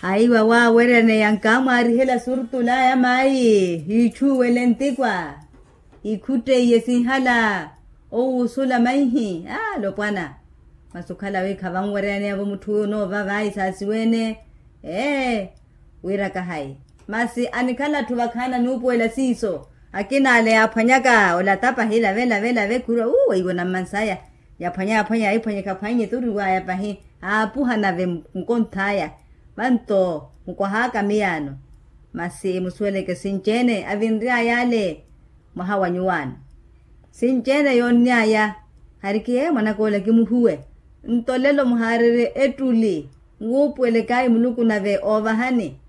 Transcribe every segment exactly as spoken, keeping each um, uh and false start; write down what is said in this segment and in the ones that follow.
Aiwa waaweryaneya nkaamwaarihela surtulaya mayi hiichuwele ntikwa. Ikhutteiye sinhala owuusula maihi alopwana. Masi okhala wi khavanweryaneya-vo mutthu wi onoova vayi saasiwene. Ee, wira kahayi. Masi anikhala atthu vakhaana nuupuwela siiso. Akina ale yaaphwanyaka olata pahi lave lave lave khurwa uu weiwo nammansaya. Yaphwanya yaphwanya yaiphwanya ekhaphwanye turiwaya pahi. Aapuha nave nkonthaya. Vanto mukwahaka miyaano. Masi musuweleke sinci-ene avinryaya ale mwaha wa nyuwaano. Sinci-ene yoonnyaya. Harikiye mwanak'ola kimuhuwe. Nto lelo muhaarerye ettuli nwuupuwelekaayi muluku nave oovahani.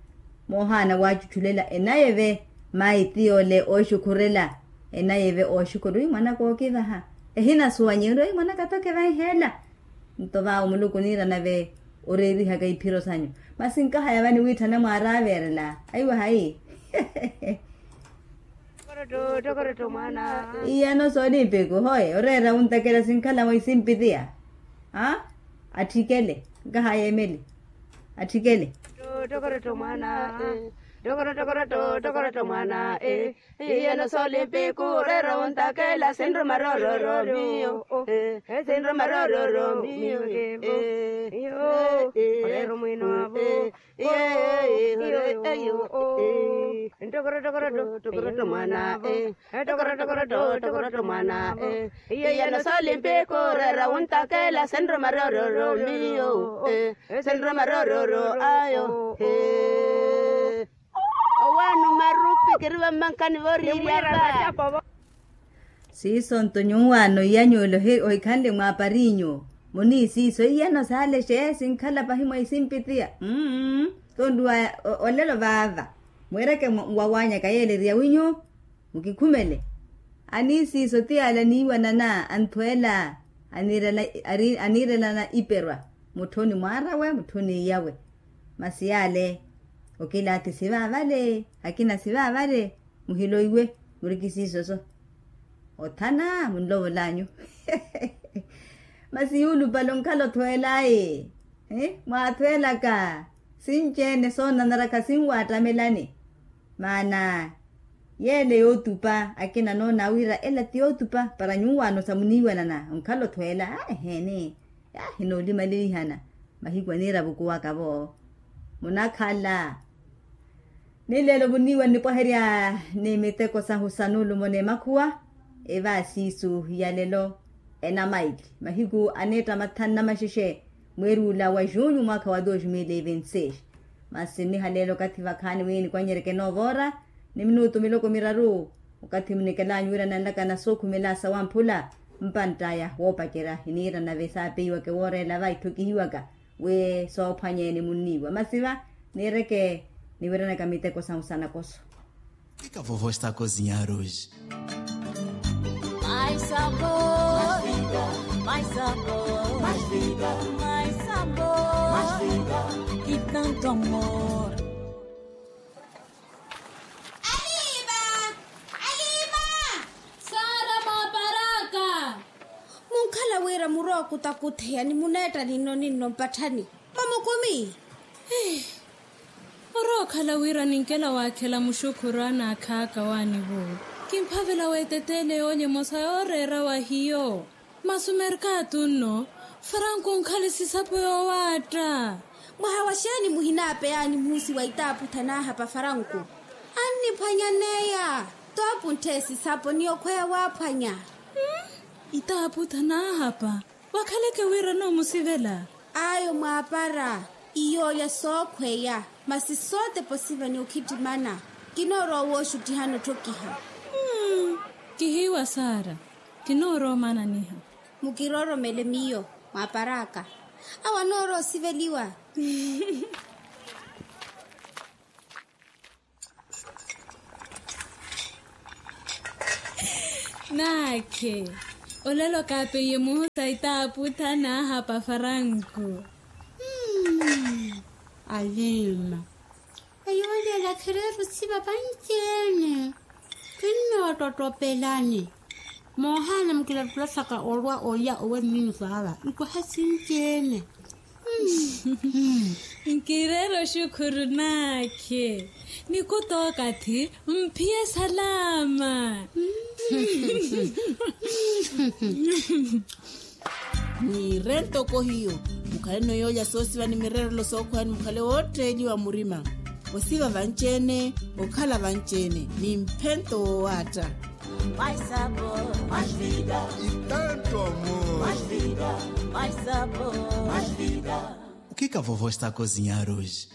Moohaana waacuchulela enayi eve. Mayi tiyoole ooxukhurela. Enayi eve ooxukhurela wi mwanaka ookivaha. Ehinasuwanyi ori wi mwanaka tokevaiheela. Nto vaawo muluku oniira nave oreerihaka iphiro sanyu. Masi nkahaya vani wiitthana mwaaraaverela aiwa hayi. Iyano soolimpikhu hoye oreera wuntakela sinkhala mwisimpi tiya. Atthikhele. Nkahaya emeli. Atthikhele. Tokoroto mwana. Tokoroto mwana. Iyano solimpiku rero wuntakela sinruma rororo miyo. Sinruma rororo miyo. Rero mwino avo. Tokoroto mwana. Tokoroto mwana. Iyano solimpiku rero wuntakela sinruma rororo miyo. Sinruma rororo ayo. Owaani omarupi kiri vammankani vooriiryaka. Siiso nto nyuwaano iyanyuwela ohikhanle mwaapari nyuwo. Muniisiiso iyano saale xee sinkhala pahi mwa isimpi tiya. Mmm. Tonduwa olelo vaava. Mweereke nwawanyaka yeeleriya winyuwo. Mukikhumele. Aniisiiso tiyaala niiwanana anthweela. Aniirelana iperwa. Mutthoni mwaarawe mutthoni iyawe. Masi yaale okilaathi sivaavale. Akina sivaavale. Muhiloiwe. Murikisiisoso. Othana munlovolanyu. Masi yuulupale onkhala othweelayi. Mwaathweelaka. Sinci-ene soonanara khasinwaattamelani. Maana yeele yootupa akina noona wira ela ti yootupa para nyuwaano sa muniiwanana onkhala othweela. Eheeni. Ahinoolimalelihana. Mahiku aniira vukuwaka-vo. Munakhala. Ni leelo vuniiwa nnipwaherya ni miteko sahu sa nuulumo n'emakhuwa. Evaasiisu ya lelo enamaili mahiku aneetta mathanu na maxexe mweeri ula wa junyu mwaakha wa dos mil e vinti seis. Masi nniha leelo okathi vakhaani wi nikwanyeryeke noova ora ni minutu miloko miraru. Okathi munikelaanyu wira nanlaka na sookhumela sawamphula mpantt'aya woopacerya hiniira nave saapeiwaka ewoorela va itthokihiwaka wi soophwanyeene munniiwa masi va niireke niwiranaka miteko sahu sa nakoso. Ika vovo está cozinhar hoje? Mais sabor, mais sabor, mais vida, mais vida, mais sabor, mais vida, e tanto amor. Aliva. Aliva. Sara mwaparaka. Munkhala wira murwa okutakutheya ni muneetta ninno ninno mpatthani. Mamukumi. Orookhala wira ninkela waakhela muxukhuru anaakhaaka waanivo. Kimphavela weeteteele yoolya emosa yooreera wa hiyo. Masi omerkatu nno faranku onkhale sisapo yoowaatta. Mwaha wa xeeni muhinaapeyaani muhusi wa itaaputha naahapa faranku. Anniphwanyaneya. Toopunthe esisapo ni okhweya waaphwanya. Itaaputha naahapa. Wakhaleke wira noomusivela. Ayo mwaapara. Iyoolya sookhweya. Masi sootepa osiva ni okhittimana. Kinoorowa wooxuttihana otthokiha. Kihiiwa sara. Kinoorowa omananiha. Mukirooromele miyo mwaapar'aka. Awo anoorowa osiveliwa. Naakhe. Olelo kaapeiye muhusa itaaputha naahapa faranku. Alima. Eyo olela khereera osiva vanci-ene. Kinnoottottopelani. Moohaana mukilattulasaka olwa olya owe mmiyo saava nkwaha sinci-ene. Nkireera oxukhuru naakhe. Nikuta okathi mphiye salama. Niire ntoko hiyo. Mukhaleno yoolya soosiva ni mireerelo sookhwani mukhale wootteeliwa murima. Osiva vanci-ene, okhala vanci-ene ni mphento woowaatta. Mais sabor, mais vida. E tanto amor. Mais vida, mais sabor, mais vida. O que que a vovó está a cozinhar hoje?